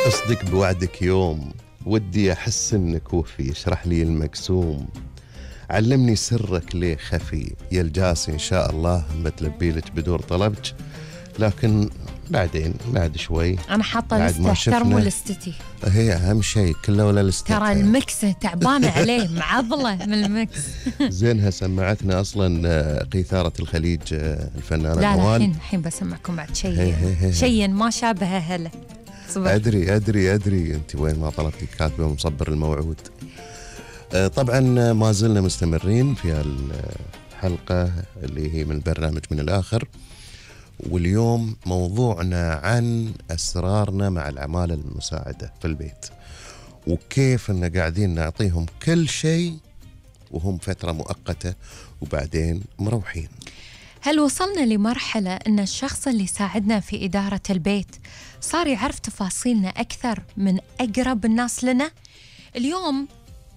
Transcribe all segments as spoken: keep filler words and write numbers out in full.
أصدق بوعدك يوم ودي أحس إنك وفي، اشرح لي المقسوم، علمني سرك ليه خفي، يا الجاسي إن شاء الله بتلبي لك بدور طلبك، لكن بعدين بعد شوي. أنا حاطة لستة، احترموا لستتي، هي أهم شيء كله ولا لستة. ترى المكس تعبانة عليه معضلة من المكس. زينها سمعتنا أصلا قيثارة الخليج الفنانة لا نوال. لا الحين الحين بسمعكم بعد شيء شيء ما شابه هلا. أدري أدري أدري أنت وين ما طلبتي كاتبة مصبر الموعود. طبعا ما زلنا مستمرين في الحلقة اللي هي من برنامج من الآخر، واليوم موضوعنا عن أسرارنا مع العمالة المساعدة في البيت، وكيف أن قاعدين نعطيهم كل شيء وهم فترة مؤقتة وبعدين مروحين. هل وصلنا لمرحلة أن الشخص اللي ساعدنا في إدارة البيت صار يعرف تفاصيلنا أكثر من أقرب الناس لنا؟ اليوم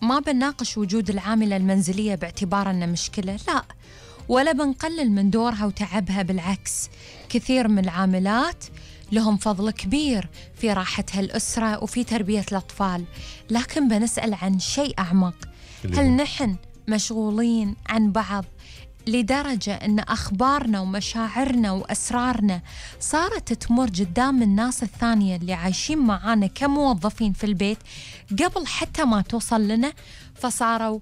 ما بنناقش وجود العاملة المنزلية باعتبار أنه مشكلة، لا، ولا بنقلل من دورها وتعبها، بالعكس، كثير من العاملات لهم فضل كبير في راحة هالأسرة وفي تربية الأطفال، لكن بنسأل عن شيء أعمق. هل نحن مشغولين عن بعض لدرجة أن أخبارنا ومشاعرنا وأسرارنا صارت تمر قدام الناس الثانية اللي عايشين معانا كموظفين في البيت قبل حتى ما توصل لنا؟ فصاروا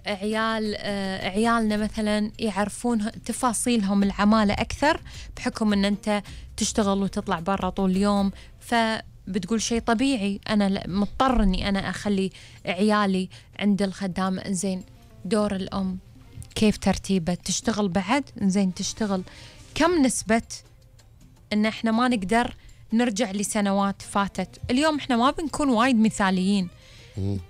عيال آه عيالنا مثلا يعرفون تفاصيلهم العمالة أكثر بحكم أن أنت تشتغل وتطلع برا طول اليوم، فبتقول شيء طبيعي، أنا مضطر أني أنا أخلي عيالي عند الخدامة. إنزين دور الأم كيف ترتيبه؟ تشتغل بعد؟ إنزين تشتغل. كم نسبة إن إحنا ما نقدر نرجع لسنوات فاتت؟ اليوم إحنا ما بنكون وايد مثاليين،